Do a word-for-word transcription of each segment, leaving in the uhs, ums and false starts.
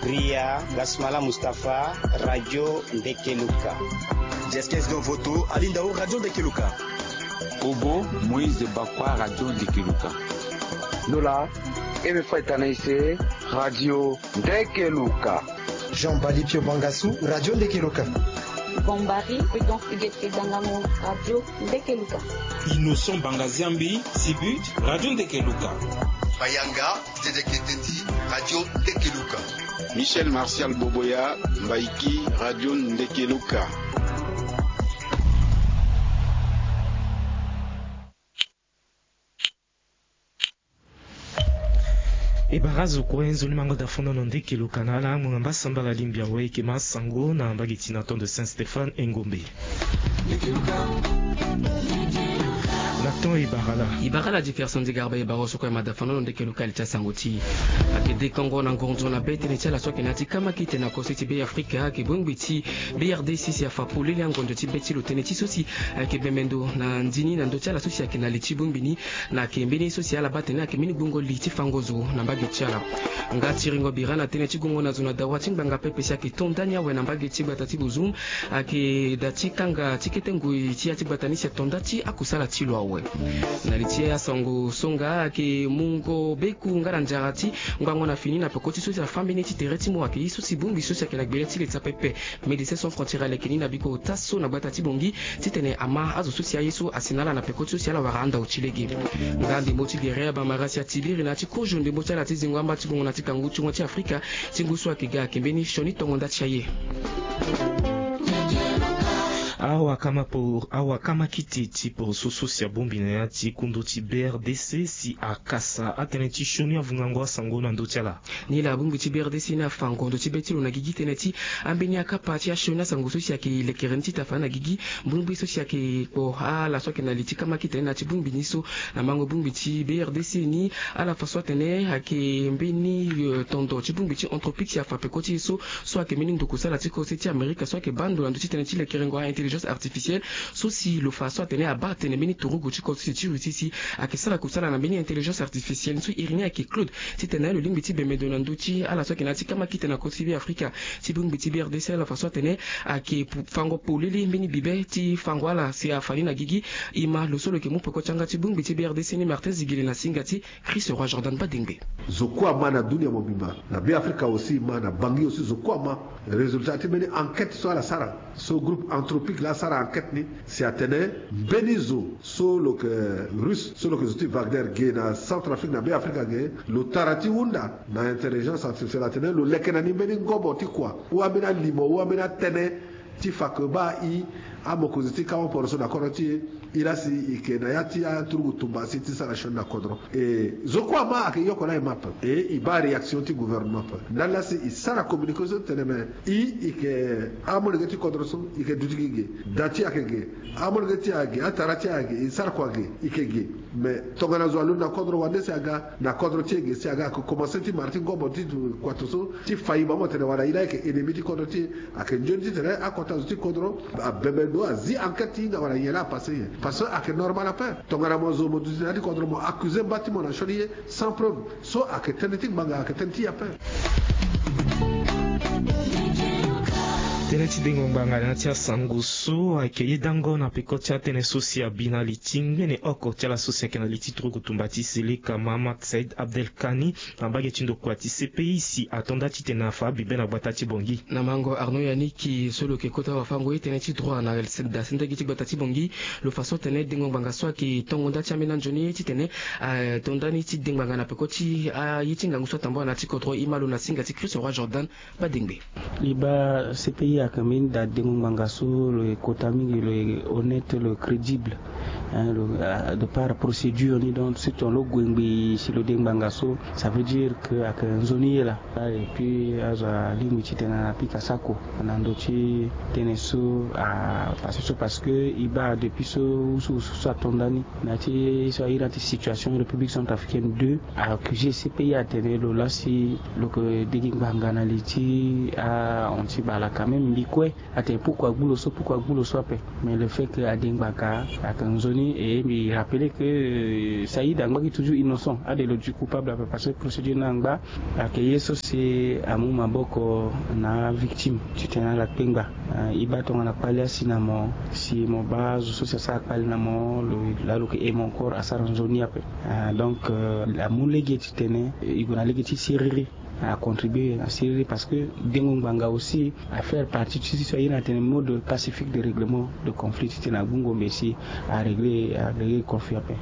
Ria Gasmala Mustapha, Radio Ndekeluka. Jeskes Don Voto, Alinda o Radio Ndekeluka. Kobo Moïse Bakwa, Radio Ndekeluka. Nola Eme Faitanaise, Radio Ndekeluka. Jean Bali Pio Bangassou, Radio Ndekeluka. Bombari Prudence Igete Dangango, Radio Ndekeluka. Innocent Bangaziambi, Sibut, Radio Ndekeluka. Bayanga Dedeketeti, Radio Ndekeluka. Michel Martial Boboya, Mbaiki, Radio Ndekeluka. E bara azo kue nzoni mango da fondo na Ndekeluka na ala ngbonga mbasambala limbi awe eke ma sango na mbage ti na temps de Saint Stéphane e Ngombe. Na temps e bara la. E bara la Jefferson Digarba e bara so kue ma da fondo na Ndekeluka li ti asango ti. Ake dekongo na ngonzo na be tënë ti ala so ake na ya ti kama kite na kose ti Be Afrika ake bongbi ti B R D C si afa polele angonzo ti be ti lo tënë ti so si ake bembe ndo na ndini na ndö ti ala so si ake na li ti bongbi ni. Na ake mbeni so si ala baa atene ake mbeni gbongo li ti fango zo na mbage ti ala. Nga ti ringo bira na tënë ti gongo na zo na dawa ti ngbanga pepe si ake to ndani awe na mbage ti gbata ti Bozoum, ake da ti kanga ti kete ngoi ti ya ti gbata ni si ato nda ti akusala ti lo awe. Na li ti asango so nga ake mungo beku nga na nzara ti ngbongo na fini na peko ti so si afa mbeni ti tere ti mo ake ye so si bongbi so si ake na gbele ti leta pepe Médecins Sans Frontières aleke ni na biko ota so na gbata ti Bangui titene ama azo so si aye so asi na ala na peko ti so si ala wara andau ti lege. Nga ndembo ti gere abamara si atibiri na ya ti kozo ndembo ti ala ti zingo amba ti gongo na ti kangu ti gongo ti Afrika ti ngu so ayeke ga ayeke mbeni sioni tongo nda ti aye. Awakama po awakama kiti ti poroso so si abongbi na ya ti kundu ti B R D C si akasa atënë ti sioni avungango asango na ndö ti ala. Ni laa bongbi ti B R D C ni afa ngondo ti be ti lo na gigi tënë ti ambeni akapa ti asioni asango so si ayeke lekere ni ti tafa na gigi. Bongbi so si ayeke kpo ala so ayeke na li ti kama kite ni na ya ti bongbi ni so na mango bongbi ti B R D C ni ala fa so atene ayeke mbeni tondo ti bongbi ti Anthropic si afa peko ti e so so ayeke mbeni nduku sala ti kose ti Amerika so ayeke baa ndo na ndö ti tënë ti lekerengo a-intelligence artificielle so si lo fa so atene abaa atene mbeni turugu ti kose ti Russie si ayeke sara kusala na mbeni intelligence artificielle so iri ni ayeke Claude titene lo lingbi ti bembe ndo na ndö ti ala so ayeke na ya ti kama kite na kose ti Be Afrika ti bongbi ti B R D C ala fa so atene ayeke fango polele mbeni bibe ti fango ala si afa ni na gigi. E ma lo so lo yeke mu peko ti yanga ti bongbi ti B R D C ni Martin Zigele na singa ti Chris Roi Jordan Badengbe. Zo kue ama na dunia mobimba na Be Afrika aussi ma na Bangui aussi zo kue ama résultat ti mbeni enquête so ala sara. So groupe Anthropic laa asara enquête ni si atene mbeni zo so lo yeke Russe so lo yeke zo ti Wagner ge na Centrafrique na Be Afrika ge lo tara ti hunda na intelligence artificielle atene lo leke na ni mbeni ngobo ti kua ou ambeni alimo ou ambeni atënë ti fa ke baa i amokonzi ti kama poroso na kodro ti e. I laa si i yeke na ya ti aturugu tumba si ti sara sioni na kodro. E zo kue ama ayeke yoko laa e ma ape. E i baa réaction ti gouvernement ape ndali laa si i sara communiqué so tene me i i yeke amolenge ti kodro so i yeke duti gi ge. Da ti ayeke ge. Amolenge ti ayeke ge atara ti ayeke ge i sara kua ge i yeke ge. Me tongana zo alondo na kodro wande si aga na kodro ti e ge si aga ayeke komanse ti mara ti ngobo ti kuatu so ti fa i ma mo tene wala i laa i yeke ennemi ti kodro ti e. Ayeke nzoni titene akota zo ti kodro abembe ndo azi enquête ti hinga wala nyen laa apase nyen. Parce que ayeke normal ape. Tongana mo zo mo duti na ya ti kodro mo accuse mba ti mo na sioni ye sans preuve. So ayeke tënë ti ngbanga ayeke tënë ti e ape. Tënë ti dengo ngbanga na ya ti asango so ayeke yedango na peko ti atënë so si abi na li ti ngbene oko ti ala so si ayeke na li ti turugu tumba ti Seleka Mahamat Said Abdelkani na mbage ti ndokua ti C P I si ato nda titene afa abibe na gbata ti Bangui. Na mango Arnaud Yannick so lo yeke kota wafango ye tënë ti droit na da sendege ti gbata ti Bangui lo fa so atene dengo ngbanga so ayeke tongo nda ti ambeni anzoni ye titene ato nda ni ti dengbanga na peko ti aye ti ngangu so atambula na ya ti kodro. E ma lo na singa ti Christ Roi Jordan Badengbe. Liba C P I ayeke mbeni da dengo ngbanga so lo yeke kota mingi lo yeke honnête lo yeke crédible. Hein, lo, ah, de par procédure ni donc si tongana lo gue ngbii si lo de ngbanga so ça veut dire que ayeke nzoni ye laa. Ah, et puis azo alingbi titene apika sako na ndö ti tënë so apase so parce que e baa depuis so usu usu so ato nda ni na ya ti so airi na ya ti situation République Centrafricaine deux a accusé C P I atene lo laa si lo yeke de gi ngbanga na li ti ahon ti bala quand même. E kue atene pourquoi agbu lo so, pourquoi agbu lo so ape. Mais le fait que ade ngbaka ayeke nzoni, e mbi rappeler que Saïd angba gi toujours innocent, ade lo du coupable ape parce que procédure ni angba. Ayeke ye so si amu maboko na avictime titene ala kpengba. E baa tongana kpale asi na mo, si mo baa azo so si asara kpale na mo, lo laa lo yeke aimé encore asara nzoni ape. Donc amu lege titene e gue na lege ti siriri, acontribue na siriri parce que dengo ngbanga aussi afaire partie ti so aye na tene mode pacifique de règlement de conflit titene agbu ngombe si arégler arégler conflit ape.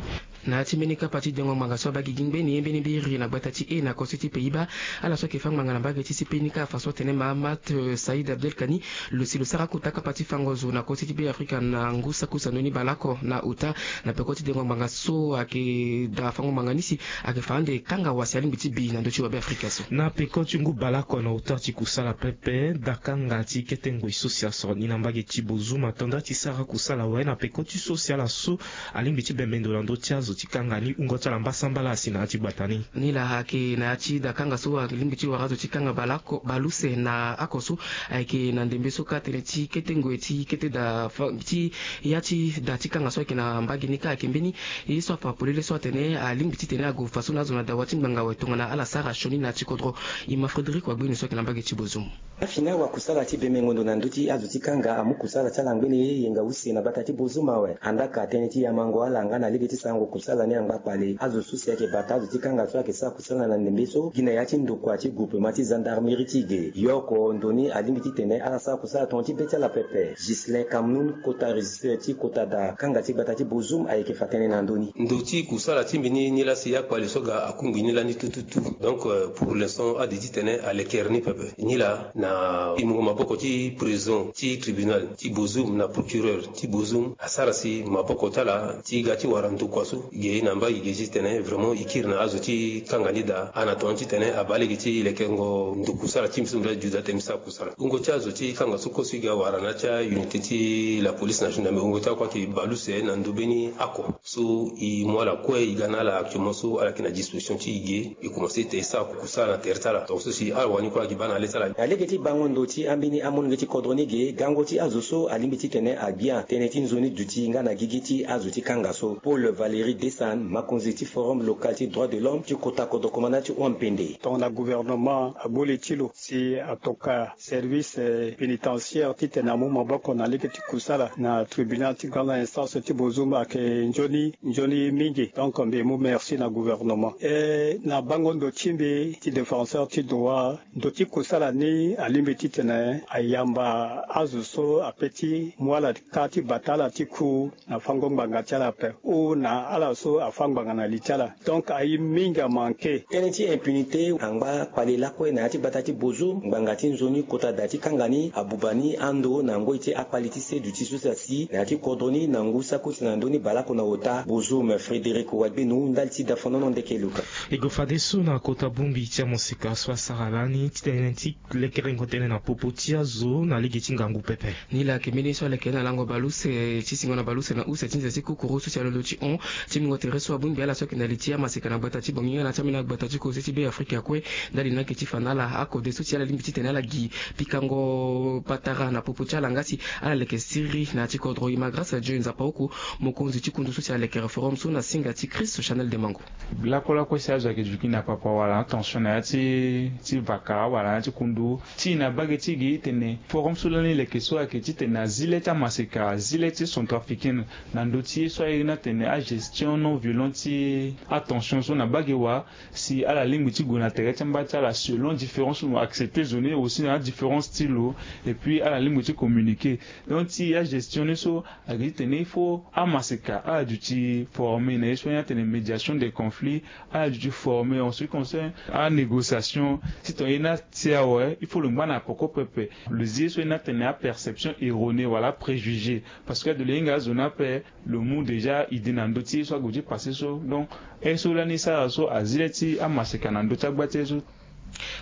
Na ya ti mbeni kapa ti dengo ngbanga so abaa gi gi ngbeni ye mbeni mbiri na gbata ti e na kosi ti Pays-Bas, ala so ayeke fâ ngbanga na mbage ti C P I ni kâ afa so atene Mahamat Saïd Abdelkani lo si lo sara kota kapa ti fango zo na kosi ti Be Afrika na ngu saki use na ndoni baleoko na ota. Na peko ti dengo ngbanga so ayeke da fango ngbanga ni si ayeke fa ande kanga wa si alingbi ti bi na ndö ti wa Be Afrika so. Na peko ti ngu baleoko na ota ti kusala pepe, dakanga ti kete ngoi so si asoro ni na mbage ti Bozoum ato nda ti sara kusala awe na peko ti so si ala so alingbi ti bembe ndo na ndö ti azo ti kanga ni wungo ti ala mbasambala asi na ya ti gbata ni. Ni laa ayeke na ya ti dakanga so alingbi ti wara azo ti kanga baleoko baleuse na oko so ayeke na ndembe so kâ tënë ti kete ngoi ti kete da ti ya ti da ti kanga so ayeke na mbage ni kâ ayeke mbeni ye so afa polele so atene alingbi titene ague faso na azo na dawa ti ngbanga awe tongana ala sara sioni na ya ti kodro. E ma Frédéric Wagbeni so ayeke na mbage ti Bozoum. Afini awakusala ti bembengo ndo na ndö ti azo ti kanga amu kusala ti ala ngbene yenga use na gbata ti Bozoum awe. Andaa ka tënë ti yamango ala nga na lege ti sarango kusala ni angba kpale. Azo so si ayeke bata azo ti kanga so ayeke sara kusala na ndembe so gi na ya ti ndokua ti groupement ti gendarmerie ti ge. Yoko ndo ni alingbi titene ala sara kusala tonga ti be ti ala pepe. Ghislain Kamnoun, kota régisseur ti kota da kanga ti gbata ti Bozoum ayeke fa tënë na ndö ni. Ndo ti kusala ti mbi ni, ni laa si akpale so aga akungbi ni lani tututu. Donc pour l'instant ade titene alekere ni pepe. Ni laa na pimungo maboko ti président ti tribunal ti Bozoum na procureur ti Bozoum asara si maboko ti ala ti ga ti wara ndokua so ge na mbai ge titene vraiment e kiri na azo ti kanga ni daa ana tongana titene abaa lege ti lekerengo ndo kusala ti mbi so mbi laa juda tene mbi sara kusala. Wungo ti azo ti kanga so kue so e ga wara na ya ti aunité ti la police nationale, me wungo ti akue ayeke baleuse na ndo mbeni oko. So e mu ala kue e ga na ala actuellement so ala yeke na disposition ti e ge e commencer tene e sara kusala na tere ti ala tongaso si ala wani kue ala yeke baa na le ti ala. Na lege ti bango ndo ti ambeni amolenge ti kodro ni ge, gango ti azo so alingbi titene agbia tënë ti nzoni duti nga na gigi ti azo ti kanga so. Paul Valéry Dessan, mokonzi ti forum local ti droit de l'homme ti kota kodro komanda ti Ouampende. Tongana gouvernement agbu li ti lo si atoka service pénitentiaire titene amu maboko na lege ti kusala na tribunal ti grande instance ti Bozoum ayeke nzoni nzoni mingi. Donc mbi mu merci na gouvernement. E na bango ndo ti mbi ti défenseur ti droit, ndo ti kusala ni alingbi titene ayamba azo so ape ti mu ala kâ ti bata ala ti ku na fango ngbanga ti ala ape ou na ala so afâ ngbanga na li ti ala. Donc aye mingi amanke. Tënë ti impunité angba kpale lakue na ya ti gbata ti Bozoum, ngbanga ti nzoni kota da ti kanga ni abuba ni ando na ngoi ti akpale ti se duti so si asi na ya ti kodro ni na ngu saki use na ndö ni baleoko na ota. Bozoum, Frédéric Wagbenu, ndali ti dafonono ndeke luka. E gue fadeso na kota bongbi ti amaseka so asara lani ti tene ti lekerengo tënë na popo ti azo na lege ti ngangu pepe. Ni laa ayeke mbeni ye so aleke na lango baleuse ti singo na baleuse na use ti nze ti kukuru so si alondo ti hon ti mingo tere so abongbi ala so ayeke na li ti amaseka na gbata ti Bangui nga na ti ambeni agbata ti kozo ti Be Afrika kue. Ndali ni ayeke ti fa na ala akode so si ala lingbi titene ala gi pikango patara na popo ti ala nga si ala leke siriri na ya ti kodro. E ma Grâce Dieu Nzapa oko, mokonzi ti kundu so si alekere forum so na singa ti Christ Chanel Demango. Lakue lakue si azo ayeke duti na papa wala na tension na ya ti ti vaka wala na ya ti kundu. Ti na mbage ti gi tene forum so lani leke so ayeke titene azi le ti amaseka, azi le ti centrafricaine na ndö ti ye so airi ni atene agestion non violente ti atension so na mbage wa. Si ala lingbi ti gue na tere ti amba ti ala selon différence so mo accepter zo ni aussi na adifférence ti lo. Et puis ala lingbi ti communiquer. Donc ti agestion ni so ayeke titene il faut amaseka ala duti former na ye so ni atene médiation des conflits. Ala duti former en ce qui concerne anégociation. Titene ye ni atia awe il faut lo ngba na peko pepe. Lo zi ye so ni atene aperception erronée wala préjugé. Parce que ado lo hinga azo ni ape lo mu déjà idée na ndö ti ye so ague ti passé so. Donc ye so lani sara so azi le ti amaseka na ndö ti agba ti ye so.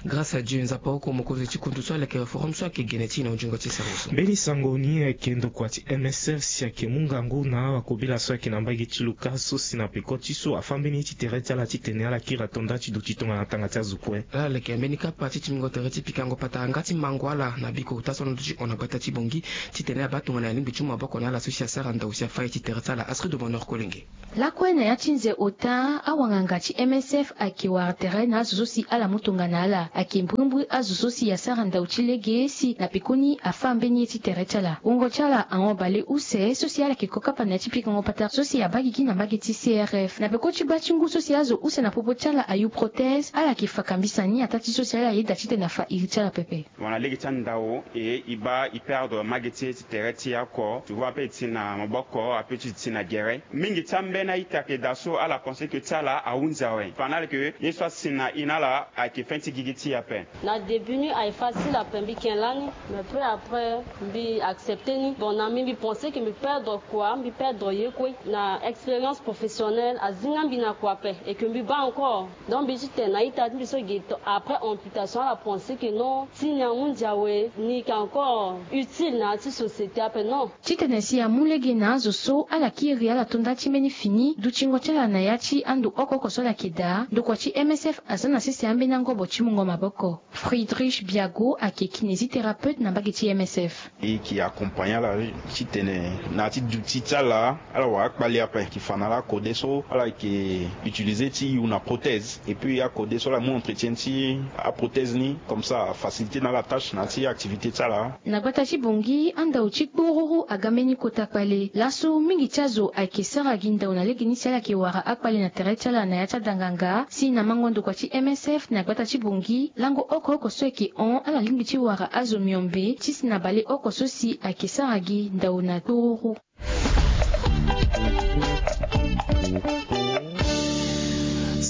Grâce à Dieu, Nzapa oko mokonzi ti kundu so aleke forum so ayeke gene ti na ujungo ti sara so. Mbeni sango ni ayeke ndokua ti M S F si ayeke mu ngangu na awakobela so ayeke na mbage ti luka so si na peko ti so afâ mbeni ye ti tere ti ala titene ala kiri ato nda ti duti tongana tanga ti azo kue. Ala leke mbeni kapa ti tingbingo tere ti pikango patara nga ti mango ala na biko uta so na ndö ti hon na gbata ti Bangui titene abaa tongana alingbi ti mu maboko na ala so si asara ndau si afâ ye ti tere ti ala. Astrid de Bonheur Kolenge. Lakue na ya ti nze ota, awanganga ti M S F ayeke wara tere na azo so si ala mu tongana ala. Ayeke mbrimbri azo so si asara ndau ti lege si na pekoni afâ mbeni ye ti tere ti ala. Wungo ti ala ahon bale use so si ala yeke ko kapa na ya ti pikango patara so si abaa gigi na mbage ti C R F. Na peko ti baa ti ngu so si azo use na popo ti ala ayu prothèse, ala yeke fa kambisa ni ataa ti so si ala yeda titene afa iri ti ala pepe. Wana lege ti andau e e baa e perdre mage ti e ti tere ti e oko, tu vois, ape e ti na maboko ape ti e ti na gere. Mingi ti ambeni a-ita ayeke daa so ala pense que ti ala ahunzi awe. Fa na ala ke ye so asi na e na ala ayeke fin ti gigi ti e ape. Na début ni ayeke facile ape, mbi ke lani, mais peu après mbi accepter ni. Bon, na mbi mbi pense que mbi perdre kua, mbi perdre ye kue na expérience professionnelle azinga mbi na kua ape, et que mbi baa encore. Donc mbi ti tene na a-ita ti mbi so ge to après amputation ala pense que non, ti ni ahunzi awe, ni yeke encore utile na ya ti société ape, non. Titene si amu lege na azo so ala kiri ala to nda ti mbeni fini dutingo ti ala na ya ti ando oko oko so ala yeke daa, ndokua ti M S F aza na sese ambeni angobo ti mungo maboko. Friedrich Biago ayeke kinésithérapeute na mbage ti M S F. E yeke accompagner ala titene na ya ti duti ti ala, ala wara akpale ape. E yeke fa na ala akode so ala yeke utiliser ti yu na prothèse, et puis akode so ala mu entretien ti aprothèse ni, comme ça afaciliter na ala tâche na ya ti activité ti ala. Na gbata ti Bangui, andau ti kporuru aga mbeni kota kpale. Laso mingi ti azo ayeke sara gi ndau na legeni si ala yeke wara akpale na tere ti ala na ya ti adanganga. Si na mango ndokua ti M S F na gbata ti Bangui, lango oko oko so ayeke hon ala lingbi ti wara azo miombe ti si na bale oko so si ayeke sara gi ndau na kporuru.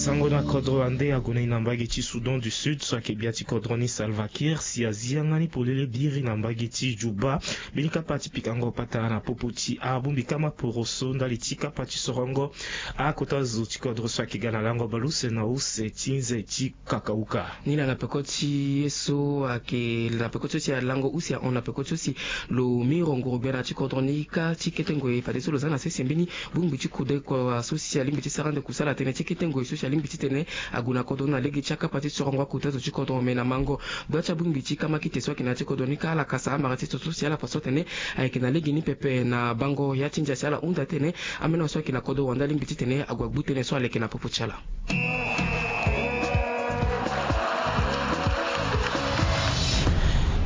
Sango na kodro ande ague na e na mbage ti Soudan du Sud so ayeke gbia ti kodro ni Salva Kiir si azi yanga ni polele biri na mbage ti Juba. Mbeni kapa ti pikango patara na popo ti abongbi kama poroso ndali ti kapa ti sorongo akota zo ti kodro so ayeke ga na lango baleuse na use ti nze ti kakauka. Ni laa na peko ti ye so ayeke na peko ti so si alango use ahon na peko ti so si lo miro nguru gbia na ya ti kodro ni kâ ti kete ngoi fadeso lo za na sese mbeni bongbi ti kodeko so si alingbi ti sara ande kusala tënë ti kete ngoi so si alingbi titene ague na kodro ni na lege ti akapa ti sorongo akota zo ti kodro. Me na mango gbia ti abongbi ti kamakite so ayeke na ya ti kodro ni kâ ala kasa amara ti so so si ala fa so atene ayeke na lege ni pepe na bango ya ti ndia si ala hunda tene ambeni so ayeke na kodro wande alingbi titene ague agbu tënë so aleke na popo ti ala.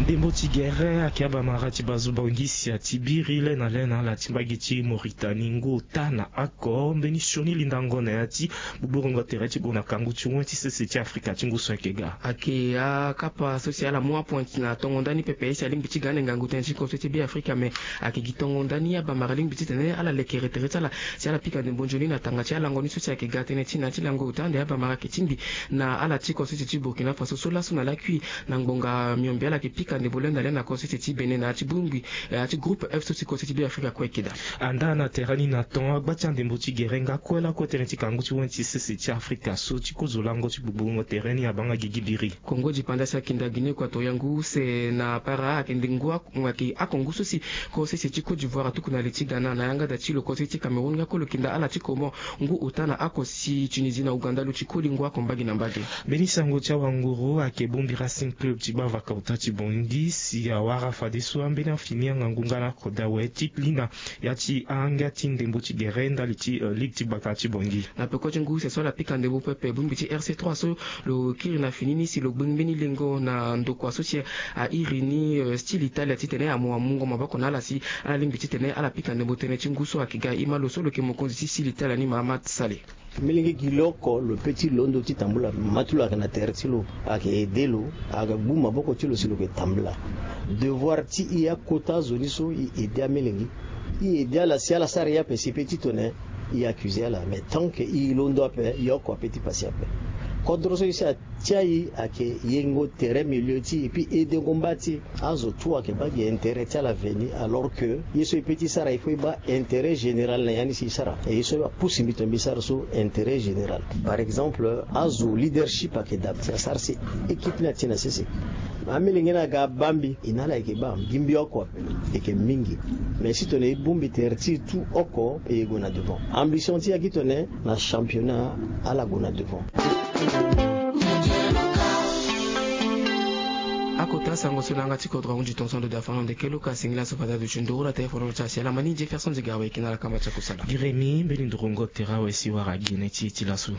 Ndembo ti gere ayeke abamara ti bazo Bangui si ati biri le na le na ala ti mbage ti Mauritanie ngu ota na oko mbeni sioni lindango na ya ti gbugburu ngo tere ti gue na kangu ti wen ti sese ti Afrika ti ngu so ayeke ga. Ayeke akapa so si ala mu apoint na tongo ndani pepe si alingbi ti ga ande ngangu tënë ti koso ti Be Afrika, me ayeke gi tongo ndani abamara alingbi titene ala lekere tere ti ala si ala pika ndembo nzoni na tanga ti alango ni so si ayeke ga tënë ti na ya ti lango ota ande abamara ayeke tingbi na ala ti koso ti Burkina Faso so laso na lakui na ngbonga miombe ala yeke pika ndembo le na le na koso ti Bénin na ya ti bongbi ya ti groupe F so ti koso ti Be Afrika kue ayeke daa. Andaa na tere ni na ton agba ti andembo ti gere nga kue lakue tënë ti kangu ti wen ti sese ti Afrika so ti kozo lango ti gbugburu ngo tere ni abaa nga gigi biri. Kongo dipanda si ayeke nda Guinée Équatoriale ngu use na para ayeke nde ngu ayeke ako ngu so si ko sese ti Côte d'Ivoire atuku na li ti Ghana na yanga da ti lo ko sese ti Cameroun nga ko lo yeke nda ala ti Comores ngu ota na ako si Tunisie na Ouganda lo ti koli ngu ako mbage na mbage. Mbeni sango ti awanguru ayeke bongbi Racing Club ti gbavaka ota ti Bangui si awara fadeso ambeni afini angangu nga na ako da awe ti lina ya ti anga ti ndembo ti gere ndali ti ligue ti gbata ti Bangui. Na peko ti ngu use so ala pika ndembo pepe bongbi ti R C trois so lo kiri na fini ni si lo gbe mbeni lengo na ndokua so si airi ni style Italia titene amu amungo maboko na ala si ala lingbi titene ala pika ndembo tënë ti ngu so ayeke ga e ma lo so lo yeke mokonzi ti style Italia ni Mahamat Saleh. Melenge gi lo oko lo pe ti londo ti tambula ma ti lo ayeke na tere ti lo ayeke aide lo. Ayeke gbu maboko ti lo si lo yeke tambula. Devoir ti e akota azo ni so e aide amelenge. E aide ala si ala sara e ape si e pe ti tene e accuse ala mais tant que e londo ape e oko ape ti pasi ape. Kodro so ye si atia e ayeke yengo tere milieu ti e epui edengo mba ti e. Azo tout ayeke baa gi intérêt ti ala veni, alors que ye so e pe ti sara il faut e baa intérêt général na ya ni si e sara. E ye so apusu mbi tongana mbi sara so intérêt général. Par exemple, azo leadership ayeke daa si asara si équipe ni atie na sese. Amilenge ni aga abaa mbi, e na ala e yeke baa gi mbi oko ape, e yeke mingi. Mais si tongana e bongbi tere ti e tout oko, e ye gue na devant. Ambition ti e ayeke tongana na championnat ala gue na devant. Akota sango so na yanga ti kodro ahunzi tongaso ndo daa fana ndo ndeke luka asengeli aso fade aduti nduru na téléphone ti asi ala ma ni Jefferson Ziga awe e yeke na ala kamba ti akusala. Gi remi mbeni nduruango tere awe si wara gi na ye ti e ti laso.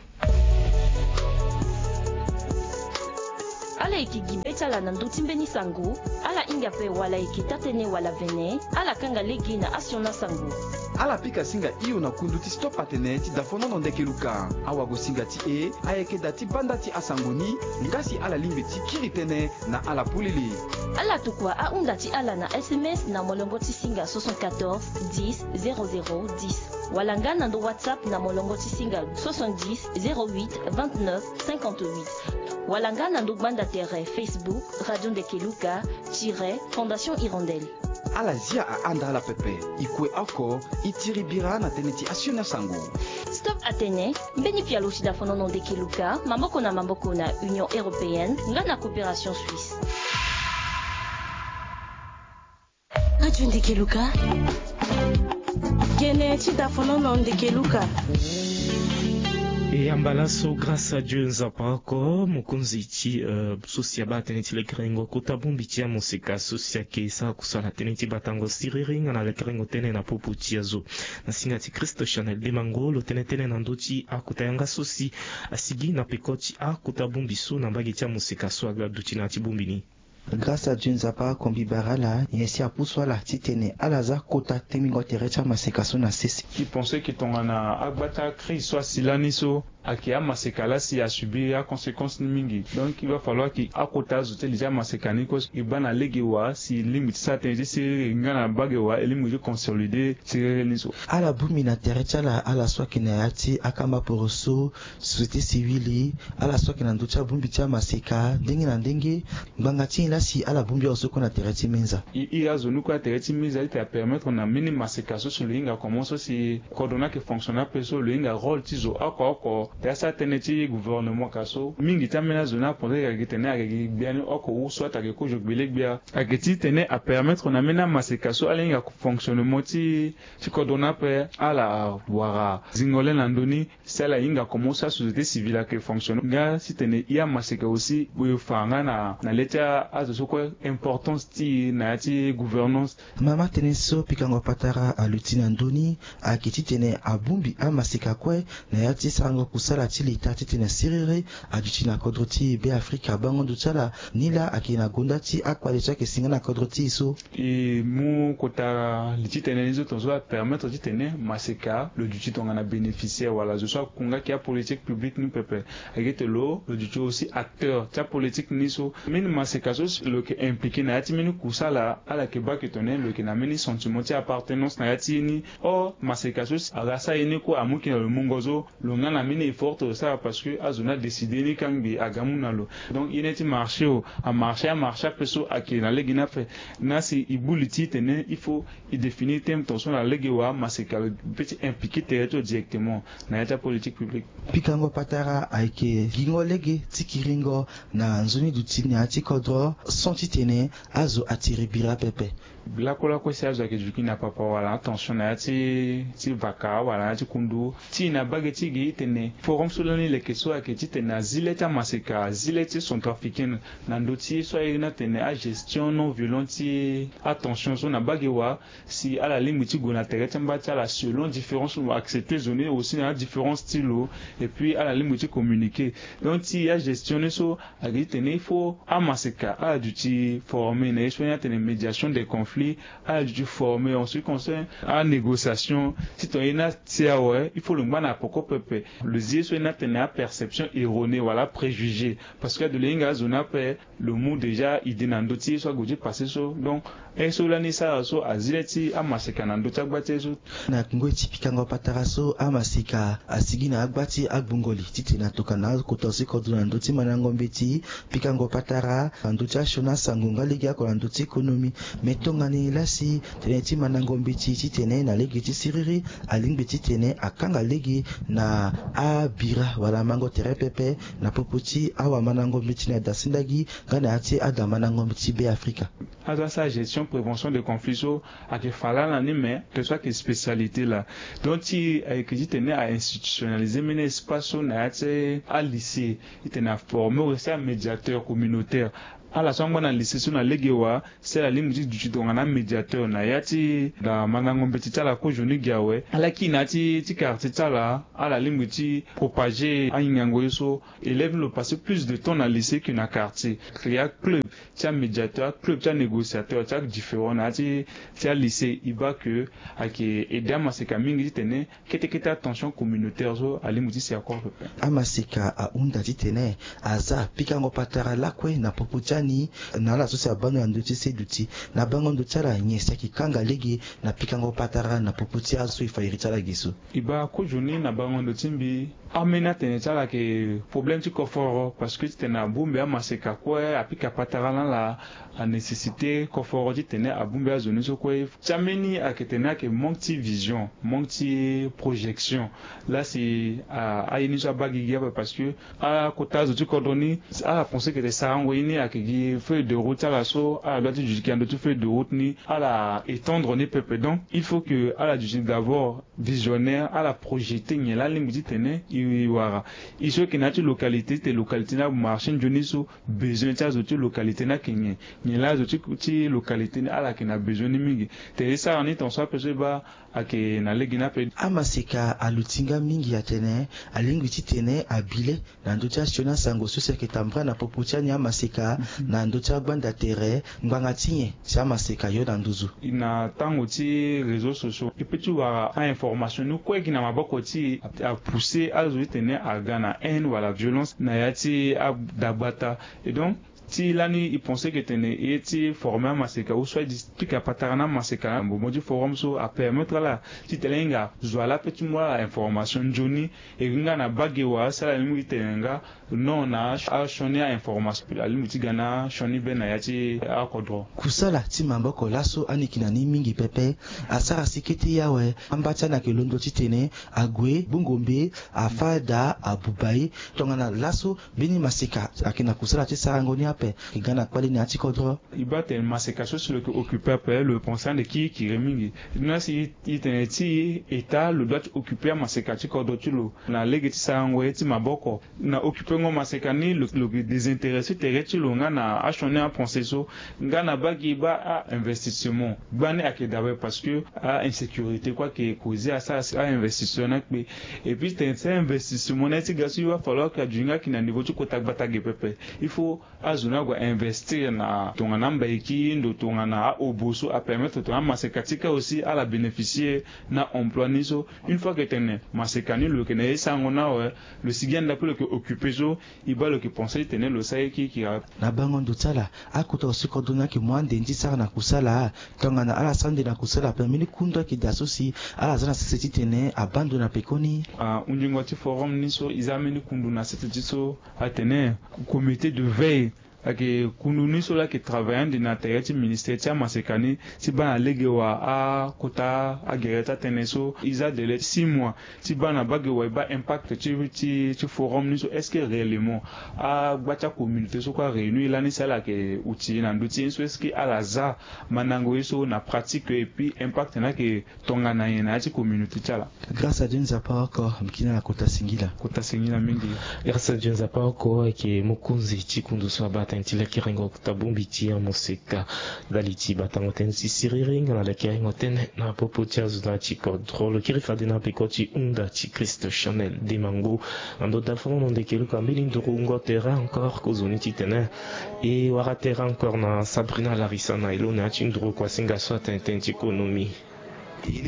Ala yeke gi be ti ala na ndö ti mbeni sango. Ala hinga ape wala e yeke taa-tënë wala vene, ala kanga lege na asioni asango. Ala pika singa hio na kundu ti Stop Atene ti dafonono ndeke luka. Awagosinga ti e ayeke daa ti banda ti asango ni. Nga si ala lingbi ti kiri tënë na ala polele, ala tokua ahunda ti ala na S M S na molongo ti singa soixante-quatorze dix zéro zéro dix, wala nga na ndo WhatsApp na molongo ti singa soixante-dix zéro huit vingt-neuf cinquante-huit, wala nga na ndo gbanda tere Facebook Radio Ndeke Luka tiret Fondation Hirondelle. Ala zia ahanda ala pepe. E kue oko, e tiri bira na tënë ti asioni asango. Stop Atene, mbeni pialo ti dafonono ndeke luka, maboko na maboko na Union Européenne nga na Coopération Suisse. Radio Ndeke Luka. Gene ti dafonono ndeke luka. E ya mbala so, grâce à Dieu, Nzapa oko, mokonzi ti, euh, so si abaa tënë ti lekerengo kota bongbi ti amoseka so si ayeke sara kusala tënë ti batango siriri nga na lekerengo tënë na popo ti azo. Na singa ti Christ Chanel Demango lo tene tënë na ndö ti akota yanga so si asigi na peko ti akota bongbi so na mbage ti amoseka so aga duti na ya ti bongbi ni. Grâce à Dieu, Nzapa oko mbi bara ala nyen si apusu ala titene ala za kota tengbingo tere ti amaseka so na sese. E pense que tongana agba ti acrise so asi lani so, ayeke amaseka laa si asubir aconséquence ni mingi. Donc il va falloir que akota azo ti li ti amaseka ni kue so e baa na lege wa si e lingbi ti sara tënë ti siriri nga na bage wa e lingbi ti consolider siriri ni so. Ala bongbi na tere ti ala, ala so ayeke na ya ti akamba poroso, société civile, ala so ayeke na ndö ti abongbi ti amaseka ndenge na ndenge. Ngbanga ti nyen laa si ala bongbi azo so kue na tere ti minza? E iri azo ni kue na tere ti minza ti tene apermettre na mbeni maseka so si lo hinga komo so si kodro ni ayeke fonctionner ape so lo hinga rôle ti zo oko oko. Te asara tënë ti gouvernement ka so mingi ti ambeni azo ni apenser ayeke tene ayeke gi gbia ni oko ou soit ayeke kozo gbele gbia. Ayeke titene apermettre na mbeni amaseka so ala hinga fonctionnement ti ti kodro ni ape ala wara zingo le na ndö ni. Si ala hinga komo so asociété civile ayeke fonctionner nga titene e amaseka aussi e fa nga na na le ti azo so kue importance ti e na ya ti gouvernance. Mama tënë so pikango patara aluti na ndö ni ayeke titene abongbi amaseka kue na ya ti sarango kusala ti leta titene siriri aduti na kodro ti Beafrika. Bango ndo ti ala ni laa ayeke na gonda ti akpale so ayeke si nga na kodro ti e so. E mu kota li ti tene ni so tongaso apermettre titene maseka lo duti tongana bénéficiaire wala zo so akunga ki apolitique publique ni pepe. Ayeke ti lo lo duti aussi acteur ti apolitique ni so. Mbeni maseka so si lo yeke impliqué na ya ti mbeni kusala ala yeke baa ke tongana lo yeke na mbeni sentiment ti appartenance na ya ti e ni. Or maseka so si aga asara ye ni kue amu ke na lo mungo so. Lo nga na mbeni effort ti lo sara parce que azo ni adécidé ni kangbi aga amu na lo. Donc ye ni ti marché o amarché amarché ape so ayeke na lege ni ape. Na si e bu li ti tene il faut e définir thème tongaso na lege wa maseka lo peut ti impliqué tere ti lo directement na ya ti apolitique publique. Pikango patara ayeke gingo lege ti kiringo na nzoni duti na ya ti kodro sans titene azo atiri bira pepe. Lakolako si azo ayeke duti na papa wala atension na ya ti ti vaka wala na ya ti kundu ti e na bage ti gi tene forum so lani leke so ayeke titene azi le ti amaseka azi le ti centrafricaine na ndö ti ye so aye ni atene agestion non violente ti atension so na bage wa si ala lingbi ti gue na tere ti amba ti ala selon différence lo accepter zo ni aussi na adifférence ti lo. Et puis ala lingbi ti communiquer donc ti agestion ni so. Ayeke ti tene il faut amaseka ala duti former na ye so ni atene médiation des conflits. Ala duti former en ce qui concerne anégociation ti tongana ye ni atia awe il faut lo ngba na poko pepe. Ye so e na tene aperception erronée wala apréjugé, parce que ado le hinga azo ni ape, lo mu déjà idée na ndö ti ye so ague ti passé so. Donc, ye so lani e sara so azi le ti amaseka na ndö ti agba ti ye so. Na ngoi ti pikango patara so, amaseka asigi na agba ti agbungo li titene atokana akota si kodro na ndö ti mandango mbeti, pikango patara na ndö ti asioni asango nga lege oko na ndö ti économie. Me tongana e lasi tënë ti mandango mbeti titene na lege ti siriri alingbi titene akanga lege na abira wala mango tere pepe na popo ti awamandango mbeti na dasindagi nga na ya ti adamandango mbeti Beafrika. Azo asara gestion, prévention de conflit so ayeke fa laa na ni, mais que soit que spécialité laa. Donc ti ayeke titene a institutionnaliser mbeni espace so na ya ti alycée, titene aformer aussi amédiateur communautaire. Ala so angba na lycée so na lege wa, si ala lingbi ti duti tongana amédiateur na ya ti adamandango mbeti ti ala kozoni gi awe, ala kiri na ya ti ti quartier ti ala, ala lingbi ti propager ahingango ye so. Élève ni lo passer plus de temps na lycée que na quartier. Créer aclub ti amédiateur, aclub ti anégociateur ti adifférent na ya ti ti alycée. E baa que ayeke aider amaseka mingi titene kete kete atension communautaire so alingbi ti si akoro pepe. Amaseka ahunda titene aza pikango patara lakue na popo ti ani na ala so si abaa ndo na ndö ti seduti. Na bango ndo ti ala nyen si ayeke kanga lege na pikango patara na popo ti azo so e fa iri ti ala ge so? E baa kozoni na bango ndo ti mbi, ambeni atene ti ala ayeke problème ti koforo, parce que titene abongbi amaseka kue, apika patara na ala, anécessité koforo titene abongbi azo ni so kue. Ti ambeni ayeke tene ayeke manque ti vision, manque ti projection. Laa si a, aye ni so abaa gigi ape, parce que akota azo ti kodro ni, ala pense que tene sarango ye ni ayeke gi feuille de route ti ala so, ala doit ti duti gi na ndö ti feuille de route ni, ala étendre ni pepe. Donc il faut que ala duti d'abord visionnaire, ala projeter nyen laa alingbi titene e wara. E so ayeke na ya ti localité, titene localité ni amarché nzoni so, besoin ti azo ti localité ni ayeke nyen, nyen laa azo ti ti localité ni ala yeke na besoin ni mingi. Tene e sara ni tongaso ape so e baa ayeke na lege ni ape. Amaseka aluti nga mingi atene alingbi titene abi le na ndö ti asioni asango so si ayeke tambula na popo ti ani amaseka na ndö ti agbanda tere, ngbanga ti nyen si amaseka yo na nduzu? Na tango ti réseaux sociaux e peut ti wara a-information ni kue gi na maboko ti e, apousser azo titene aga na haine wala violence na ya ti adagbata. Et donc ti lani e pense que tene e ye ti former amaseka ou soit e pika patara na amaseka na mouvement ti forum so apermettre ala titene e hinga zo ala ape ti mu ala information nzoni. E hinga na bage wa si ala lingbi titene nga non na asioni a-information, alingbi ti ga na asioni be na ya ti akodro. Kusala ti maboko laso ani yeke na ni mingi pepe. Asara si kete ye awe amba ti ani ayeke londo titene ague gbungo mbe, afâ daa, abuba ye. Tongana laso mbeni maseka ayeke na kusala ti sarango ni ape, e ga na kpale na ya ti kodro. E baa tene maseka so si lo yeke occuper ape, lo pense ande kirikiri mingi. Ni laa si e tene ti e, État lo doit ti occuper amaseka ti kodro ti lo na lege ti sarango ye ti maboko. Na occuper ngo maseka ni, lo, lo yeke désintéresser tere ti lo nga na asioni a-pensée so. Nga na bage e baa a-investissement, gbani ayeke dabe parce que a-insécurité kue ayeke causer asara si a-investissement ni akpe. Et puis tene ti a-investissement ni aye ti ga so, il va falloir que aduti nga ayeke na niveau ti kota gbata ge pepe. Il faut azo ni ague a-investir na tongana ambaiki ndo, tongana a-obo so apermettre tongana amaseka ti kâ aussi ala bénéficier na emploi ni so. Une fois que tene maseka ni lo yeke na ye ti sarango ni awe, lo sigi ande ape lo yeke occuper so, e baa lo yeke pense titene lo sara ye kirikiri ape. Na bango ndo ti ala, akota aussi kodro ni ayeke mu ande ni ti sara na kusala. Tongana ala sara ande na kusala ape, mbeni kundu ayeke daa so si ala za na sese titene abaa ndo na pekoni? Ah, hunzingo ti forum ni so e za mbeni kundu na sese ti so atene comité de veille. Ayeke kundu ni so laa ayeke travailler ande na tere ti ministère ti amaseka ni ti baa na lege wa akota agere ti atënë so. E za délai six mois ti baa na bage wa e baa impact ti, ti, ti forum ni so. Est-ce que réellement agba ti acommunauté so kue aréunir lani si ala yeke utile na ndö ti ye ni so? Est-ce que ala za mandango ye so na pratique et puis impact ni ayeke tongana nyen na ya ti communauté ti ala? Grâce à Dieu Nzapa oko, mbi kiri na kota singila. Kota singila mingi. Grâce à Dieu Nzapa oko ayeke mokonzi ti kundu so abaa tënë ti lekerengo kota bongbi ti amoseka ndali ti batango tënë ti siriri nga na lekerengo tënë na popo ti azo na ya ti kodro. Lo kiri fade na peko ti hunda ti Christ Chanel Demango na ndo dafo na ndeke luka mbeni nduru ngo terrain encore kozoni titene e wara terrain encore na Sabrina Larissa na elo na ya ti nduru kua singa so atene tënë ti konomi.